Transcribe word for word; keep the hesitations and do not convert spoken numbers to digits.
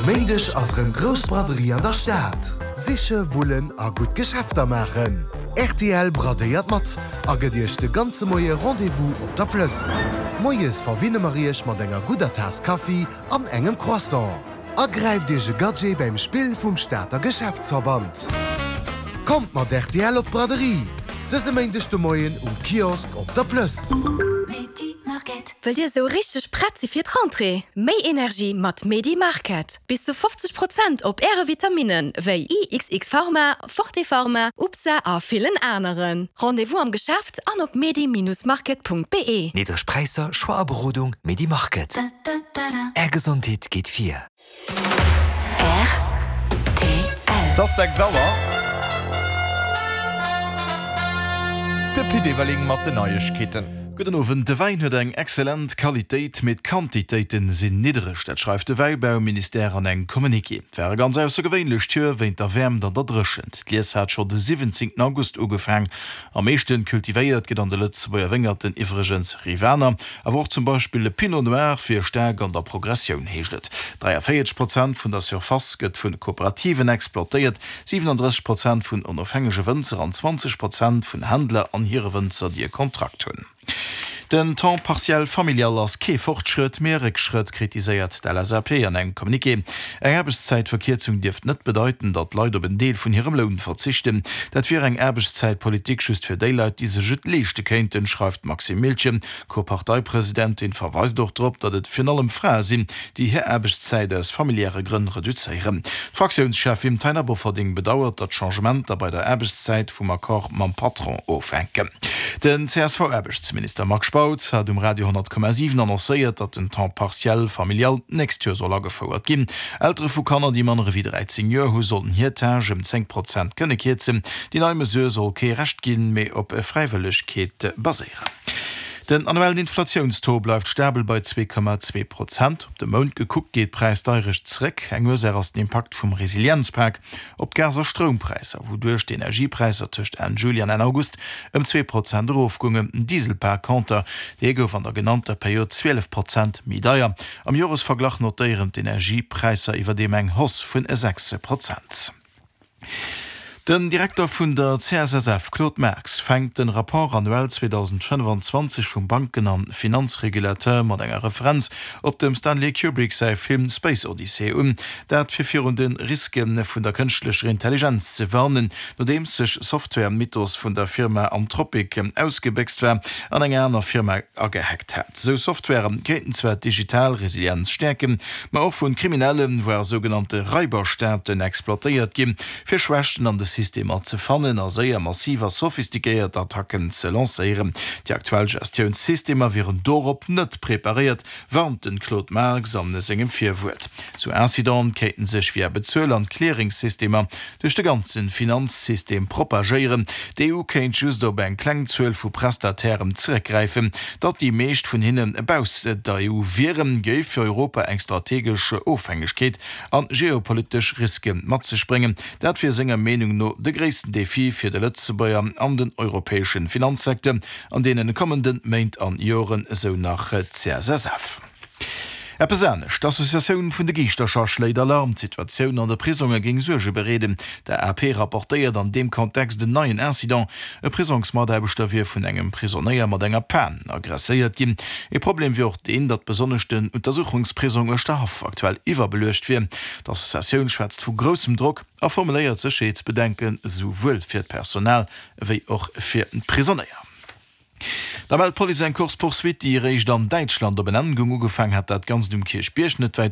Méindeg ass erëm grouss Braderie an der Stad. Siche, wullen a gutt Geschäfter maachen. Rtl bradéiert mat a gëtt Iech de ganze Moie Rendez-vous op der Plëss. Moies verwinne mer Iech mat enger gudder Taass Kaffi an engem Croissant. A gräift Iech e Gadget beim Spill vum Stater Geschäftsverband. Kommt mat rtl op d'Braderie! Dëse Méindeg de Moien um Kiosk op der Plëss. Wëllt Dir sou richteg prett si fir d'Rentrée? Méi Energie mat Medi Market. Bis zu fofzeg Prozent op Äre Vitaminnen, wéi I X X Pharma, Forte Pharma, Upsa a villen aneren. Rendez-vous am Geschäft an op medi-market Punkt be. Niddreg Präisser, Choix a Berodung, Medi Market. Är Gesondheet geet vir. Et ass sechs Auer. De Pit Everling mat den Neiegkeeten. Gudden Owend. De Wäin huet eng excellent Qualitéit, mee d'Quantitéite sinn niddereg. Dat schreift de Wäibauministère an engem Communiqué. Et war e ganz aussergewéinlecht Joer wéint der Wäermt an der Dréchent. D'Lies hat scho de siwwenzéngten August ugefaang. Am meeschte kultivéiert gëtt an de Lëtzebuerger Wéngerten iwwregens Rivaner, awer och zum Beispill e Pinot Noir wier staark an der Progressioun, heescht et. dräiavéierzeg Prozent vun der Surface gëtt vu Kooperativen exploitéiert, siwenandrësseg Prozent vun onofhängege Wënzer an zwanzeg Prozent vun Händler an hire Wënzer, déi e Kontrakt hunn. Den Temps partiel familial ass kee Fortschrëtt, mee e Réckschrëtt, kritiséiert d'L S A P an engem Communiqué. Eng Aarbechtszäitverkierzung dierft net bedeiten, datt d'Leit op en Deel vun hirem Loun verzichten. Dat wier eng Aarbechtszäitpolitik just fir déi Leit, déi sech et leeschte kéinten, schreift d'Maxime Miltgen. D'Co-Parteipresidentin verweist och drop, datt et virun allem Frae sinn, déi hir Aarbechtszäit aus familiäre Grënn reduzéieren. D'Fraktiounscheffin Taina Bofferding bedauert, datt Changementer bei der Aarbechtszäit vum Accord mam Patron ofhänken. Den C S V-Aarbechtsminister Marc Spautz hat um Radio honnert Komma siwen annoncéiert, datt den Temps partiel familial d'nächst Joer soll agefouert ginn. Eltere vu Kanner, déi manner ewéi dräizéng Joer hu sollen hir Tâche ëm zéng Prozent kënne kierzen. Déi nei Mesure soll kee Recht ginn, mee op Fräiwëllegkeet baséieren. Den annuellen Inflatiounstaux bleift stabel bei zwee Komma zwee Prozent. Op de Mount gekuckt geet d'Präisdeierecht zeréck. Eng Ursaach ass den Impakt vum Resilienzpak op d'Gas a Stroumpräisser, wouduerch d'Energiepräisser tëscht Enn Juli an Enn August ëm zwee Prozent erofgoungen. Den Diesel par conter, dee gouf an der genannter Period zwielef Prozent méi deier. Am Joresverglach notéieren d'Energiepräisser iwwerdeem eng Hausse vun sechs Prozent. Den Direkter vun der C S S F, Claude Marx, fänkt den Rapport annuel zweedausendfënnefanzwanzeg vum Banken an Finanzregulateur mat enger Referenz op dem Stanley Kubrick säi Film Space Odyssey un. Dat fir virun de Riske vun der kënschtlecher Intelligenz ze warnen, nodeems sech Software Mythos vun der Firma Anthropic ausgebéchst war an eng aner Firma agehackt hat. Sou Software kéinten zwar d'digital Resilienz stäerken, ma och vun Kriminellen, voire sougenannte Raiberstaaten exploitéiert ginn, fir Schwächten an de Systemer ze fannen a séier massiv a sophistiquéiert Attacken ze lancéieren. Déi aktuell Gestiounssystemer wieren dorop net preparéiert, warnt den Claude Marx an sengem Virwuert. Sou Incidente kéinten sech via Bezuel an Clearingsystemer duerch de ganze Finanzsystem propagéieren. D'E U kéint just op eng kleng Zuel vu Prestatairen zeréckgräifen. Datt déi meescht vun hinne baussent der E U wieren, géif fir Europa eng strategesch Ofhängegkeet an geopolitesch Riske mat sech bréngen. Dat wier senger Meenung no de gréissten Defi fir de Lëtzebuerger an den europäesche Finanzsecteur an deene kommende Méint an Joren, esou nach d'C S S F. Eppes anescht, D'Associatioun vun de Giischtercher schléit Alarm, d'Situatioun an de Prisonge géing Suerge bereeden. D'A P rapportéiert an deem Kontext en neien Incident, E Prisongsmataarbechter wier vun engem Prisonéier mat enger Pan aggresséiert ginn. E Problem wier och deen, datt besonnesch den Untersuchungsprisong Uerschterhaff aktuell iwwerbeluecht wier. D'Associatioun schwätzt vu groussem Drock a formuléiert Sécherheetsbedenken, esouwuel fir d'Personal ewéi och fir d'Prisonéier. Da mellt d'Police eng Course-poursuite, déi eréischt an Däitschland op en Enn goung. Ugefaangen hat dat Ganzt um Kierchbierg, net wäit